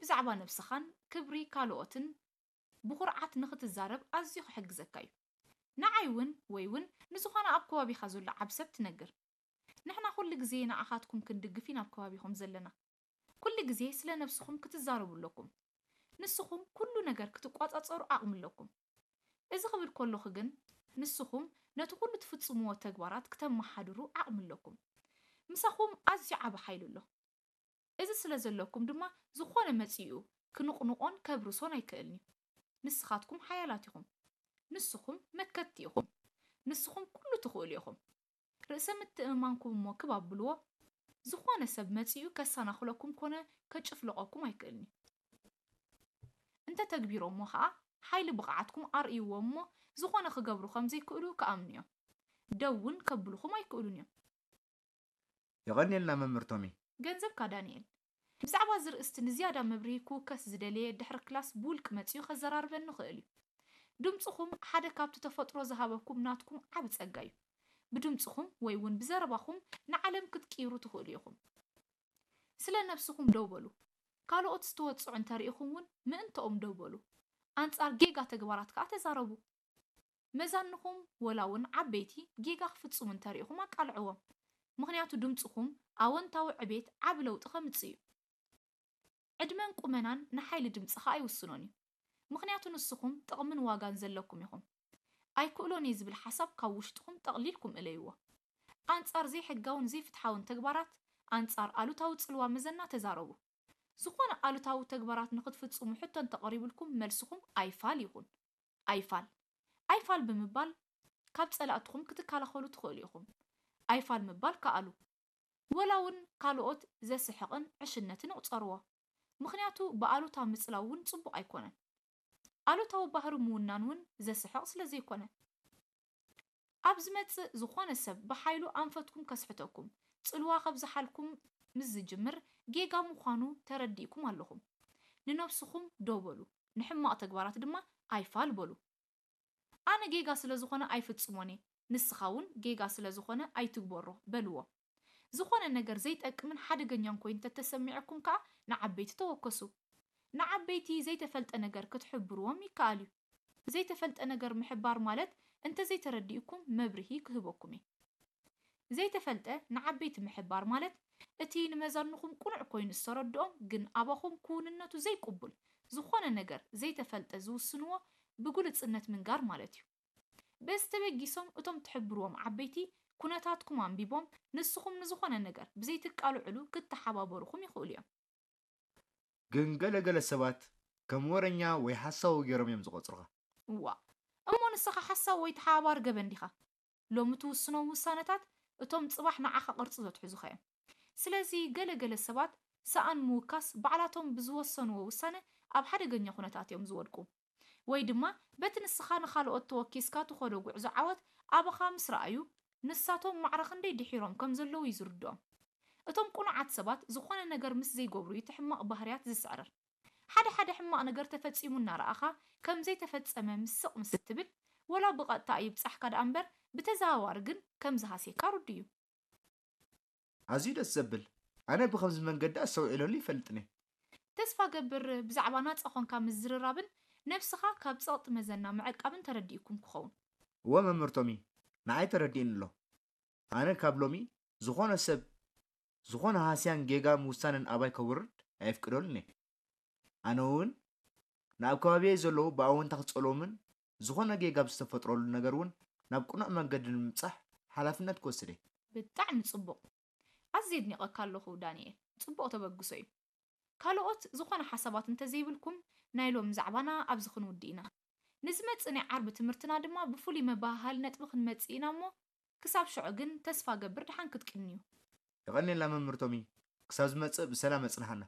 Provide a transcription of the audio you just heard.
ብዛዕባ ነብስኻን ክብሪ ካልኦትን ብኹርዓት ንኽትዛረብ ኣዝዩ ክሕግዘካ እዩ። ንዓይ እውን ወይ እውን ንዝኾነ ኣብ ከባቢኻ ዘሎ ዓቢ ሰብ ትነግር። ንሕና ኩሉ ግዜ ንዓኻትኩም ክንድግፍ ኢና ኣብ ከባቢኹም ዘለና። ኩሉ ግዜ ስለ ነብስኹም ክትዛረቡ ኣለኩም። ንስኹም ኩሉ ነገር ክትቋጻጸሩ ዓቕሚ ኣለኩም። እዚ ክብል ከለኹ ግን ንስኹም ነቲ ኩሉ ትፍጽምዎ ተግባራት ክተመሓድሩ ዓቕሚ ኣለኩም። ምሳኹም ኣዝዩ ዓቢ ሓይሊ ኣሎ። እዚ ስለ ዘለኩም ድማ ዝኾነ መጺኡ ክንቕንቖን ከብርሶን ኣይክእልን እዩ። ንስኻትኩም ሓያላት ኢኹም። ንስኹም መከትቲ ኢኹም። ንስኹም ኩሉ ትኽእሉ ኢኹም። ርእሰ ምትእምማንኩም እሞ ክብ ኣብልዎ። ዝኾነ ሰብ መጺኡ ከሰናኽለኩም ኮነ ከጭፍልቐኩም ኣይክእልን እዩ። እንተ ተግቢሮሞ ኸኣ ሓይሊ ብቕዓትኩም ኣርእይዎም እሞ ዝኾነ ክገብሩ ከም ዘይክእሉ ክኣምኑ እዮም። ደው እውን ከብልኹም ኣይክእሉን እዮም። የቐንየልና መምህር ቶሚ። ገንዘብካ ዳንኤል። ብዛዕባ እዚ ርእስቲ ንዝያዳ መብርሂ ክውከስ ዝደለየ ድሕሪ ክላስ ብውልቂ መጺኡ ከዘራርበኒ ይኽእል እዩ። ድምጽኹም ሓደ ካብቲ ተፈጥሮ ዝሃበኩም ናትኩም ዓቢ ጸጋ እዩ። ብድምጽኹም ወይ እውን ብዘረባኹም ንዓለም ክትቅይሩ ትኽእሉ ኢኹም። ስለ ነብስኹም ደው በሉ። ካልኦት ዝተወጽዑ እንተሪኢኹም እውን ምእንተኦም ደው በሉ። ኣንጻር ጌጋ ተግባራት ከኣ ተዛረቡ። መዛንኹም ወላ እውን ዓበይቲ ጌጋ ክፍጽሙ እንተሪኢኹም ኣቃልዕዎም። ምኽንያቱ ድምጽኹም ኣወንታዊ ዕቤት ዓቢ ለውጢ ከምጽእ እዩ። ዕድመን ቁመናን ንሓይሊ ድምጽኻ ኣይውስኖን እዩ። ምኽንያቱ ንስኹም ጥቕምን ዋጋን ዘለኩም ኢኹም። ኣይክእሎን እየ ዝብል ሓሳብ ካብ ውሽጥኹም ጠቕሊልኩም እለይዎ። ኣንጻር ዘይሕጋውን ዘይፍትሓውን ተግባራት፣ ኣንጻር ኣሉታዊ ጽልዋ መዘና ተዛረቡ። ዝኾነ ኣሉታዊ ተግባራት ንኽትፍጽሙ ሕቶ እንተቐሪቡልኩም መልስኹም ኣይፋል ይኹን። ኣይፋል። ኣይፋል ብምባል ካብ ጸላእትኹም ክትከላኸሉ ትኽእሉ ኢኹም። ኣይፋል ምባል ከኣሉ። ወላ እውን ካልኦት ዘስሕቕን ዕሽነትን ይቑጸርዎ። ምኽንያቱ ብኣሉታ ምጽላው እውን ጽቡቕ ኣይኮነን። ኣሉታዊ ባህሪ ምውናን እውን ዘስሕቕ ስለ ዘይኮነ። ኣብ ዝመጽእ ዝኾነ ሰብ ብሓይሉ ኣንፈትኩም ከስሕተኩም፣ ጽልዋ ከብዝሓልኩም ምስ ዝጅምር ጌጋ ምዃኑ ተረዲእኩም ኣለኹም። ንነብስኹም ደው በሉ፣ ንሕማቕ ተግባራት ድማ ኣይፋል በሉ። ኣነ ጌጋ ስለ ዝኾነ ኣይፍጽሞን እየ፣ ንስኻ እውን ጌጋ ስለ ዝኾነ ኣይትግበሮ በልዎ። ዝኾነ ነገር ዘይጠቅምን ሓደገኛን ኮይኑ እንተተሰሚዑኩም ከኣ ንዓበይቲ ተወከሱ። ንዓበይቲ ዘይተፈልጠ ነገር ክትሕብርዎም ይከኣል እዩ። ዘይተፈልጠ ነገር ምሕባር ማለት እንተዘይተረዲእኩም መብርሂ ክህበኩም እየ። ዘይተፈልጠ ንዓበይቲ ምሕባር ማለት እቲ ንመዛንኹም ቅኑዕ ኮይኑ ዝተረድኦም ግን ኣባኹም ክውንነቱ ዘይቅቡል ዝኾነ ነገር ዘይተፈልጠ ዝውስንዎ ብግሉጽነት ምንጋር ማለት እዩ። በዚ ተበጊሶም እቶም ትሕብርዎም ዓበይቲ ኩነታትኩም ኣንቢቦም ንስኹም ንዝኾነ ነገር ብዘይትቃልዕሉ ክተሓባበሩኹም ይኽእሉ እዮም። ግን ገለ ገለ ሰባት ከም ወረኛ ወይ ሓሳዊ ገይሮም እዮም ዝቖጽሩኻ። እዋእ እሞ ንስኻ ሓሳዊ ወይ ተሓባባሪ ገበን ዲኻ? ሎሚ ትውስኖም ውሳነታት እቶም ጽባሕ ንዓኻ ቅርጺ ዘትሕዙኻ እዮም። ስለዚ ገለ ገለ ሰባት ሰኣን ምውካስ ባዕላቶም ብዝወሰንዎ ውሳነ ኣብ ሓደገኛ ኩነታት እዮም ዝወድቁ። ወይ ድማ በቲ ንስኻ ንኻልኦት ተወኪስካ ትኸዶ ጉዕዞ ዓወት ኣባኻ ምስ ረኣዩ ንሳቶም ማዕረ ክንደይ ድሒሮም ከም ዘለዉ እዩ ዝርድኦም። እቶም ቅኑዓት ሰባት ዝኾነ ነገር ምስ ዘይገብሩ እዩ እቲ ሕማቕ ባህርያት ዝስዕርር። ሓደ ሓደ ሕማቕ ነገር ተፈጺሙ እናረኣኻ ከም ዘይተፈጸመ ምስ ስቕ ምስ እትብል ወላ ብቐጥታ ኣይብጻሕካ ደኣ እምበር ብተዘዋዋሪ ግን ከም ዝሃስየካ ርዱእ እዩ። ኣዝዩ ደስ ዘብል። ኣነ ብኸምዚ መንገዲ ኣስተውዒለሉ ይፈልጥን እየ። ተስፋ ገብር ብዛዕባ ናጻ ኾንካ ምዝርራብን ነብስኻ ካብ ጸቕጢ መዘና ምዕቃብን ተረዲእኩም ክኸውን። እወ መምህር ቶሚ ንዓይ ተረዲእኒ ኣሎ። ኣነ ካብ ሎሚ ዝኾነ ሰብ ዝኾነ ሃስያን ጌጋ ምውሳንን ኣባይ ከውርድ ኣየፍቅደሉን እየ። ኣነ እውን ንኣብ ከባቢየይ ዘለዉ ብኣወንታ ክጸልዎምን ዝኾነ ጌጋ ብዝተፈጥረሉ ነገር እውን ናብ ቅኑዕ መንገዲ ንምብጻሕ ሓላፍነት ክወስድ እየ። ብጣዕሚ ጽቡቕ። ኣዝየ ኣድኒቐካ ኣለኹ ዳንኤል። ጽቡቕ ተበግሶ እዩ። ካልኦት ዝኾነ ሓሳባት እንተዘይብልኩም ናይ ሎሚ ዛዕባና ኣብዚ ክንውድእ ኢና። ንዝመጽእ ናይ ዓርቢ ትምህርትና ድማ ብፍሉይ መበሃሃሊ ነጥቢ ክንመጽእ ኢና እሞ ክሳብ ሽዑ ግን ተስፋ እገብር ደሓን ክትቅንዩ። የቐንየልና መምህር ቶሚ፣ ክሳብ ዝመጽእ ብሰላም ኣጽንሓና።